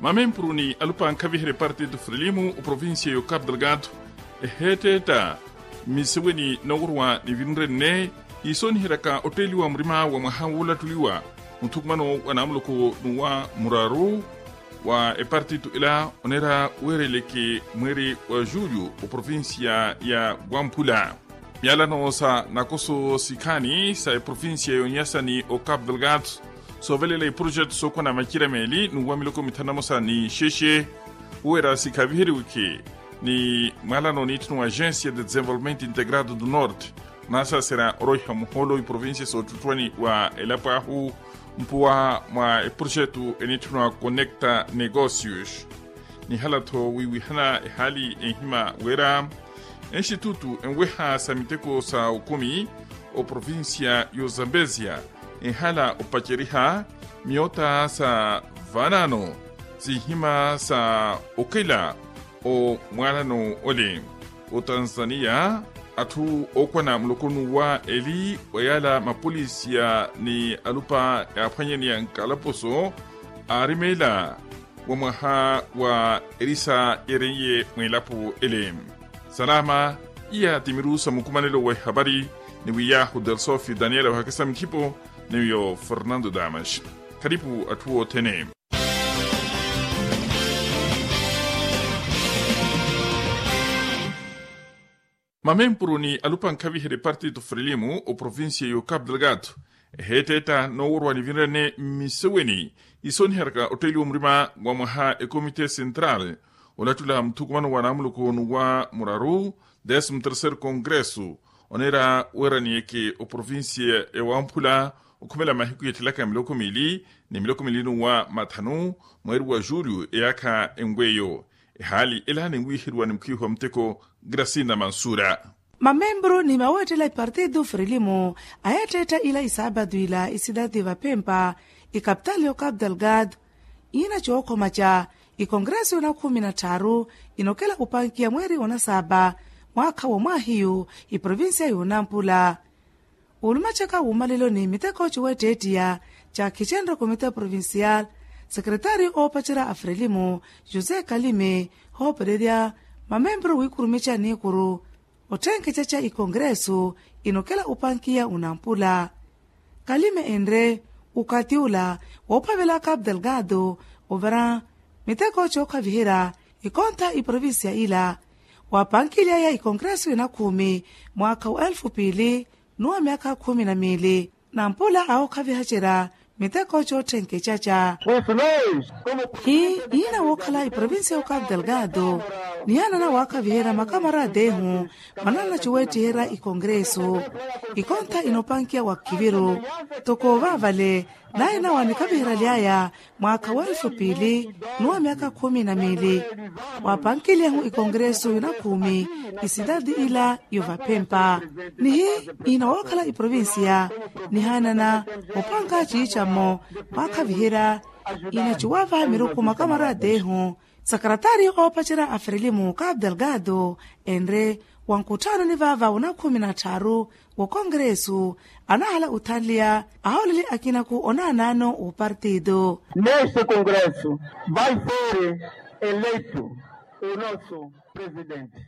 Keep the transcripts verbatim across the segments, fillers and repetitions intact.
Mamempuru ni alupa ankhaviherya epartito frelimo oprovincia y'ocapo delgado eheetteetta mmiseweni nooworwa ni vinrenne iisoniheryaka otteeliwa murima wa mwaha woolattuliwa muthukumano wa naamuloko n'uwa muraru wa epartito ela oneera weereleke mweeri wa julio oprovincia ya wamphula. Myalano sa nakoso sikhaani sa eprovincia y'onyasa ni ocapo delgado soovelela iprojeto sookwana macira meeli n'uwa miloko mithanu na mosa ni xexe. Uwera sikhaviheriweke ni mwalano n'itthu n'wa agencia de desenvolvimento integrado do norte onaasaserya oroiha muhoolo iprovincia soottuttuwani wa elapo ahu mpuwa mwa eprojeto enitthu n'wa conecta negocios. Nihala-tho wiiwihana ehaali enhima wira enxitutu enweha sa miteko sa okumi oprovincia y'ozambezia enhala opaceriha miyoota sa vaanaano sinhima sa okela omwaalano ole. Otanzania atthu ookwana muloko n'uwa eli wa yaala mapolisiya ni alupa yaaphwanyaneya nkalaposo aarimeela wa mwaha wa erisa yeereiye mw'elapo ele. Salama. Iya ti miru sa mukumanelo wa ehapari ni wiyahu delsofio daniela ohakisa mukhipo ni wiyo fernando damas. Kharipu atthu othene. Mamempuru ni alupa ankhaviherya epartito frelimo oprovincia y'ocapo delgado eheetteetta nooworwa nivinrene mmiseweni isoniheryaka otteeliwa murima wa mwaha ekomite central olattula muthukumano wa naamuloko n'uwa muraru décimo terceiro congresso oneera weeraniyeke oprovincia ya wamphula okhumela mahiku yeettelaka miloko miili ni miloko miili n'uwa mathanu mweeri wa julio eyaakha enweyo. Ehaali ela ninwiiheriwa ni mukhiihi wa muteko gracina mansura. Mamembru ni maweettela ipartido frelimo ayeetteetta ila isaapatu ila isidadi vapempa ikapitali y'ocapo delgado iina cookhomaca ikongresu yoona khumi na tthaaru inokela opankiya mweeri wa onasaapa mwaakha wa mwaahiyu iprovincia y'onampula. Olumacaka wuumalelo ni miteko ciweetteettiya ca khicenre komite provincial sekretario oopacerya a frelimo josé kalime hoopererya mamembru wiikurumica niikuru otthenkeca ca ikongresu inokela opankiya onampula. Kalime enre okathi ola woophavela capo delgado overa miteko cookhaviherya ikontha iprovincia ila waapankiliyaya ikongresu yoona khumi mwaakha wa elfu piili n'uwa myaakha khumi na miili nampula awookhavihacerya miteko cootthenkecaca. Hii iina wookhala iprovincia y'ocapo delgado nihaanana waakhaviherya makamarata ehu manaana coweettiherya ikongresu ikontha inoopankiya wa khiviru toko vaavale naye nawa nikhaviheryaly'aya mwaakha wa elfu piili n'uwa myaakha khumi na miili waapankiliyehu ikongresu yoona khumi isidadi ila y'ovapempa. Nihi iina wookhala iprovincia nihaanana opanka ciicamo waakhaviherya iina cuwava miruku makamarata ehu sekretario oopacerya a frelimo capo delgado enre wa nkutthano ni vaava woona khumi na tthaaru wokongresu anahala othanliya ahooleli akinaku onaanaano woopartido. Neste congresso vai ser eleitu o nosso presidente.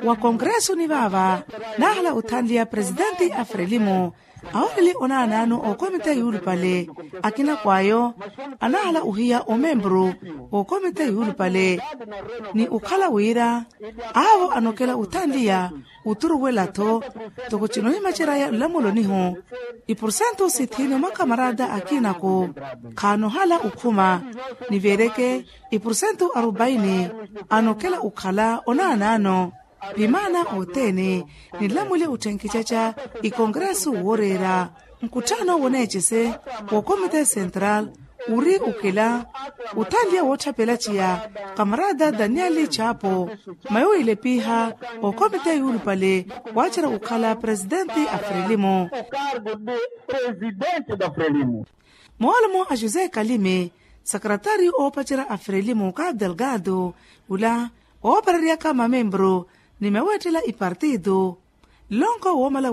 Wa kongresu ni vaava nahala othanliya presidente a frelimo ahooleli onaanaano ookomite yuulupale akinaku ayo anahala ohiya omembru ookomite yuulupale ni okhala wira aavo anokela othanliya oturuwela-tho toko cinohimaceraya nlamulonihu ipursentu sithini omakamarata akinaku khaanohala okhuma niveereke ipursentu arupaini anokela okhala onaanaano. Vimaana othene ninlamwile otthenkecaca ikongresu wooreera nkutthano woneecese wookomite central uri okela othanliya wootthapelathiya kamarata daniel chapo mayo ile piiha okomite yuulupale waacerya okhala presidente a frelimo. Moolumo a josé kalime sekretario oopacerya a frelimo capo delgado ula oopareryaka mamembru ni maweettela ipartido nlonko woomala